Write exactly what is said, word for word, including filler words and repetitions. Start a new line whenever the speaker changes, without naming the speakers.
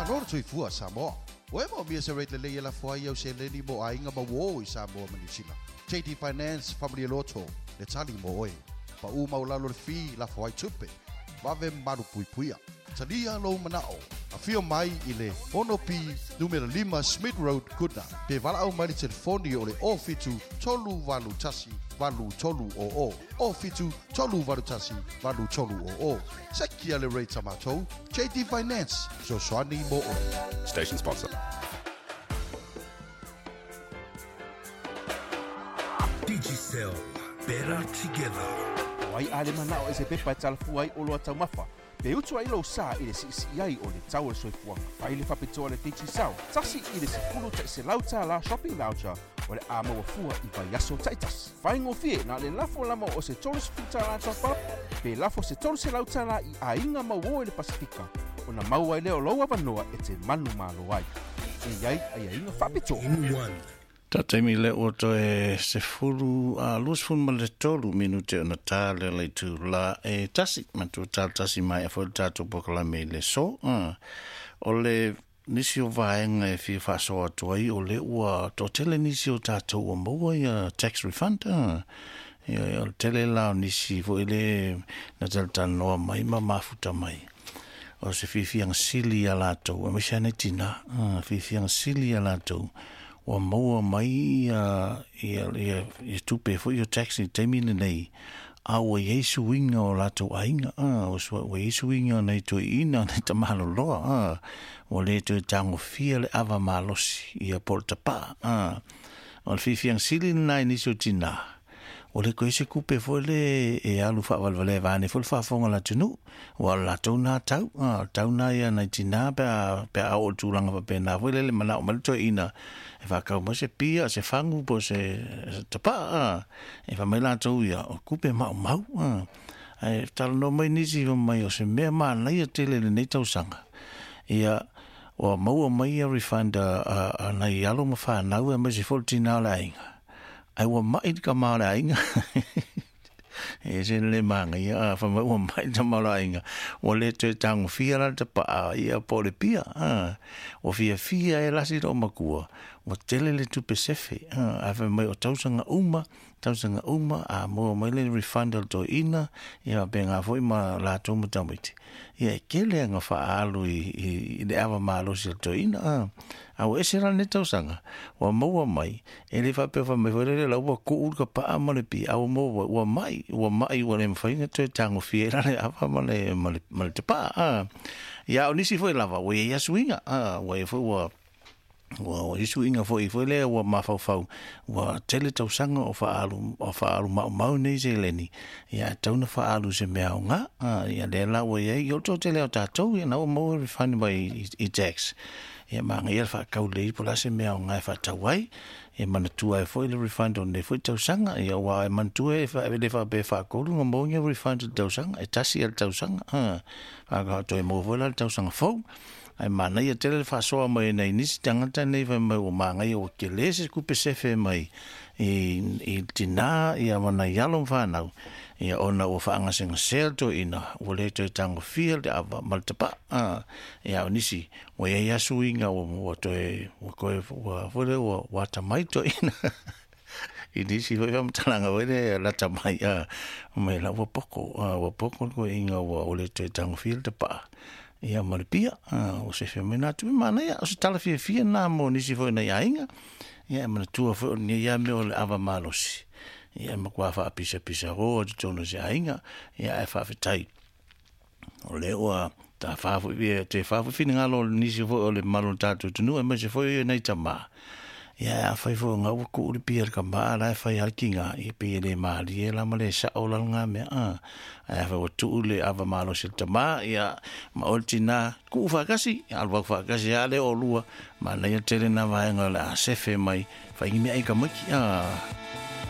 Malo le soifua Samoa. Ua e moomia se rate lelei e lafo ai au seleni mo aiga ma uō i Samoa ma Niu Sila. J D Finance Faamalie Loto le tali mo oe. Paʻū maualalo le fee lafo ai tupe. Vave malupuipuia. Talia lou manao. Afio mai i le ono P numera lima Smith Road, Goodna. Pe valaau mai le telefoni o le o fitu tolu valu tasi valu tolu o o. O fitu tolu valu tasi valu tolu o o. Sekia le rate a matou. J D Finance. Fesoasoani mo oe.
Station sponsor.
Digicel. Better together.
Wai ale manao e se pepa e talafua ai o loa taumafa. Pe utu ai lou sa i le siisii ai o le tau o le soifuaga. Fai le faapitoa le Digicel. Tasi i le sefulu taʻiselau tālā shopping voucher o le a maua fua i vaiaso taʻitasi. Faigofie na le lafo lama o se tolu sefulu tālā top-up, pe lafo se tolu selau tālā i aiga mauō i le Pasifika. Ona maua ai lea o lou avanoa e te manumalo ai. E iai aiaiga faapitoa.
In one.
Ta taimi le ua toe sefulu a luasefulu ma le tolu minute ona tā le le itu la e tasi. Matua tā tasi mai a foi le tātou polokalame i le so. Ah. O le nisi o vaega e fia faasoa atu ai o le ua toatele nisi o tātou ua maua ia tax refund. Ah. Ia, o le tele la o nisi foi le na talatalanoa mai ma mafuta mai. O se fiafiaga sili ia latou, aemaise lava nei tinā. Ah, fiafiaga sili ia latou. Ua maua mai ia, ia, ia, ia tupe foi o tax i taimi lenei. A ua iai suiga o latou aiga. Ah, ua sua, ua iai suiga o nei toeaina, nei tamaloloa. Ah, ua le toe tagofia le ava malosi ia po o le tapaa. Ah, o le fiafiaga sili lenā i nisi o tinā. O le koe se kupe foi le e alu faavalevalea vaeane foi le faafofoga o le atunuu. Ua o le latou nā tau. Ah, o le tau nā ia nai tinā pe a, pe a oo i le tulaga faapena foi le le manao mai le toeaina. E faakau mai se pia, se fagu po o se, se tapaa. Ah. E faamai latou ia, o kupe maumau. Ah. Ae talanoa mai nisi mai o se mea manaia tele lenei tausaga. Ia, ua maua mai ia refund a, a, a nai alo ma whanau e mai se foi le tinā o le aiga. Ai ua mai le kama o le aiga. E se le māngaia, a whamai ua mai le tama o le aiga. Ua le toe tagofia la le tapaa ia po o le pia. Ah. Ua fiafia e lasi loo makua. Ua tele le tupe sefe. Ah. A whamai o tausaga uma, tausaga uma, a maua mai le refund o le toeaina, ia faapena foi ma latou ma tamaiti. Ia e kele aga faaalu i, i, i le ava malosi o le toeaina. Ah. A ua ese la lenei tausaga. Ua maua mai, e le faapea faamai foi lele la ua kuu le kapaa ma le pia. A ua maua, ua mai, ua mai ua le mafai ona toe tagofia ai la le ava ma le, ma le, ma le tapaa. Ah. Ia o nisi foi lava, ua iai asuiga. Ah, ua iai foi ua ua ua isuiga foi foi lea ua mafaufau ua tele tausaga o faaalu o faaalu maumau nei seleni. Ia e tatau ona faaalu i se mea aoga. Ah, ia lea la ua iai i o le toatele o tatou ia na ua maua refund mai i, i tax. Ia manaia le faakau lelei po o le a se mea aoga e faatau ai. Ia manatua ai foi le refund o lenei foi tausaga. Ia ua e manatua e fa, le faapea e faatolu ona maua ni refund i le tausaga. E tasi ia le tausaga. Ah, faatoa maua foi la le tausaga fou. Ae manaia tele le faasoa mai nai nisi tagata nei fai mai ua magaia ua kele se kupe sefe mai i, i tinā ia ma nai alo ma whanau. Ia ona ua faagasegasea le toeaina, ua le toe tagofia le ava ma le tapaa. Ah, ia o nisi, ua iai asuiga ua, ua toe, ua koe, ua foi lea ua, ua atamai toeaina. I nisi foi faamatalaga foi lea lata mai, ah, mai la ua poko, ah, ua poko le koeaina ua ua le toe tagofia le tapaa. Ia ma le pia, ah, o se fea mai nā tupe manaia, o se tala fiafia nā mo nisi foi nei aiga. Ia e manatua foi o lenei ia mea o le ava malosi. Ia e matua faapisapisa roa totonu o se aiga, ia ae faafetai. O le ua ta wha foi, ia, te wha foi finengalo o le nisi foi o le malo o le tātou atunuu, aemaise foi ia nei tamā. Ia, a whai foi ngā ua kuu le pia le kama, la e whai hale ki ngā, i pe le mālie la ma le sao la ngā mea, a. Ai a whai ua tuu le ava malosi le tamā, ia, ma o le tinā, kuu whakasi, ia, alu wak whakasi, a le o lua, ma nei a tele nā vaenga le a sefe mai, whai ngi mea i ka maiki, a.